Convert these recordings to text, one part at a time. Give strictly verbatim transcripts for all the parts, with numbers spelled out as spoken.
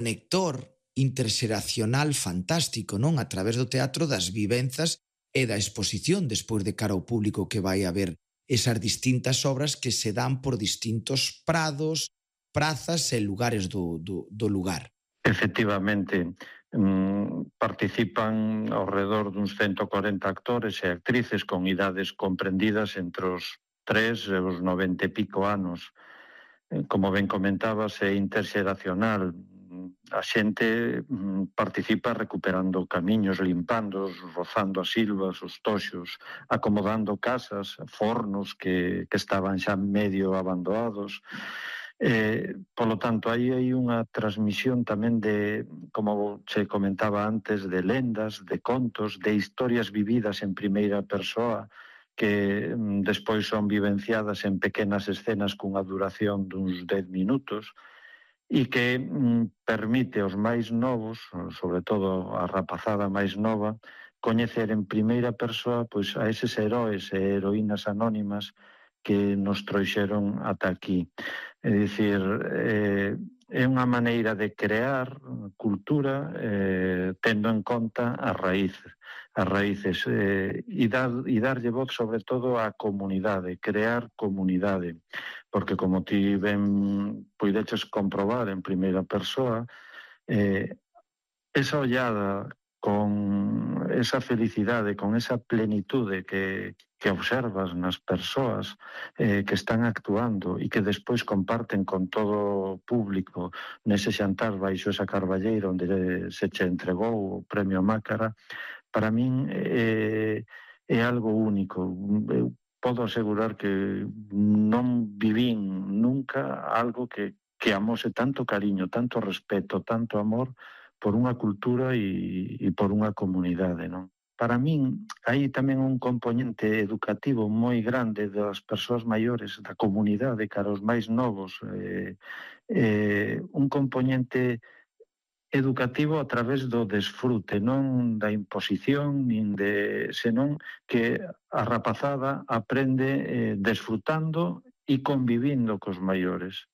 conector interxeracional fantástico, non? A través do teatro, das vivenzas e da exposición despois de cara ao público que vai a ver esas distintas obras que se dan por distintos prados, prazas e lugares do, do, do lugar. Efectivamente, mm, participan ao redor duns ciento corenta actores e actrices con idades comprendidas entre os tres e os noventa e pico anos. Como ben comentabas, é interxeracional. A xente participa recuperando camiños, limpando, rozando as silvas, os toxos, acomodando casas, fornos que, que estaban xa medio abandonados. Eh, polo tanto, aí hai unha transmisión tamén de, como se comentaba antes, de lendas, de contos, de historias vividas en primeira persoa, que despois son vivenciadas en pequenas escenas cunha duración duns dez minutos e que mm, permite aos máis novos, sobre todo a rapazada máis nova, coñecer en primeira persoa pois, a eses heróis e heroínas anónimas que nos trouxeron ata aquí. É dicir, eh, é unha maneira de crear cultura eh, tendo en conta as raíces, as raíces eh, e, dar, e darlle voz sobre todo á comunidade, crear comunidade, porque como ti ben puideches comprobar en primeira persoa, eh, esa ollada con esa felicidade, con esa plenitude que, que observas nas persoas eh, que están actuando e que despois comparten con todo o público nese xantar baixo esa carballeira onde se che entregou o premio Mácara, para min é, é algo único. Eu podo asegurar que non vivín nunca algo que, que amose tanto cariño, tanto respeto, tanto amor por unha cultura e, e por unha comunidade, non? Para min, hai tamén un componente educativo moi grande das persoas maiores, da comunidade, cara aos máis novos, eh, eh, un componente educativo a través do desfrute, non da imposición, nin de, senón que a rapazada aprende eh, desfrutando e convivindo cos maiores.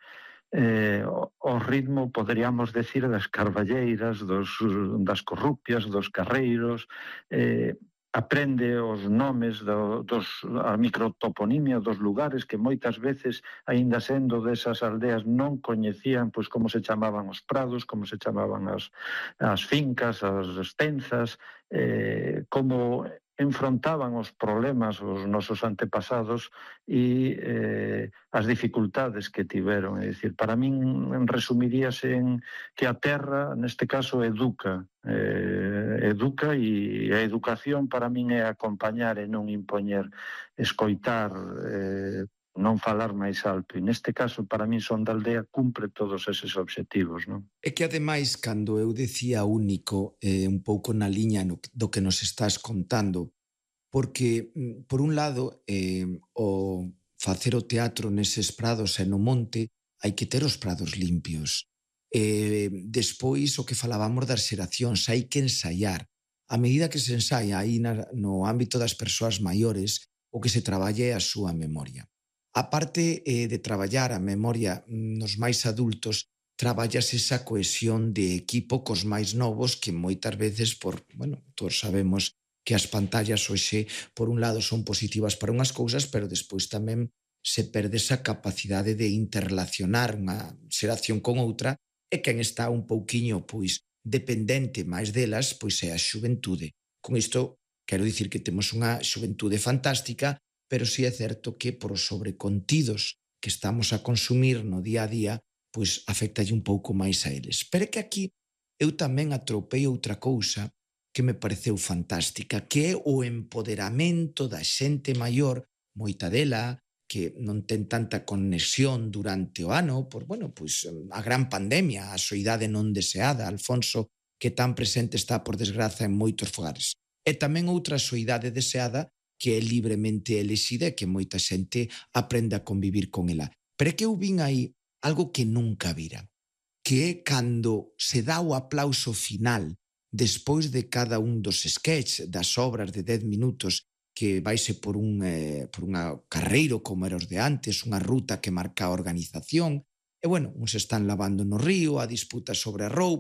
Eh, o ritmo, poderíamos decir, das carballeiras, dos, das corrupias, dos carreiros, eh, aprende os nomes, do, dos, a microtoponimia dos lugares que moitas veces, aínda sendo desas aldeas, non coñecían pois como se chamaban os prados, como se chamaban as, as fincas, as estenzas, eh, como enfrontaban os problemas os nosos antepasados e eh, as dificultades que tiveron. É dicir, para min resumiríase en que a terra, neste caso, educa. Eh, educa e a educación para min é acompañar e non impoñer, escoitar, eh, non falar máis alto. E neste caso, para min, Son da Aldea cumpre todos eses obxectivos, non? É que, ademais, cando eu decía único, eh, un pouco na liña no, do que nos estás contando, porque, por un lado, eh, o facer o teatro neses prados e no monte, hai que ter os prados limpios. Eh, despois, o que falábamos das xeracións, hai que ensaiar. A medida que se ensaia aí na, no ámbito das persoas maiores, o que se traballe é a súa memoria. A parte eh, de traballar a memoria nos máis adultos, traballas esa cohesión de equipo cos máis novos que moitas veces, por, bueno, todos sabemos que as pantallas hoxe, por un lado, son positivas para unhas cousas, pero despois tamén se perde esa capacidade de interrelacionar unha xeración con outra e quen está un pouquiño, pois, dependente máis delas, pois é a xuventude. Con isto, quero dicir que temos unha xuventude fantástica, pero sí é certo que por os sobrecontidos que estamos a consumir no día a día, pois afectalle un pouco máis a eles. Pero é que aquí eu tamén atropei outra cousa que me pareceu fantástica, que é o empoderamento da xente maior, moita dela, que non ten tanta conexión durante o ano, por, bueno, pois a gran pandemia, a soidade non deseada, Alfonso, que tan presente está, por desgraza, en moitos fogares. E tamén outra soidade deseada que é libremente elexida e que moita xente aprende a convivir con ela. Pero é que eu vin aí algo que nunca vira, que é cando se dá o aplauso final despois de cada un dos sketches das obras de dez minutos que vaise por un eh, por unha carreiro como era os de antes, unha ruta que marca a organización, e bueno, uns están lavando no río, a disputa sobre a roupa,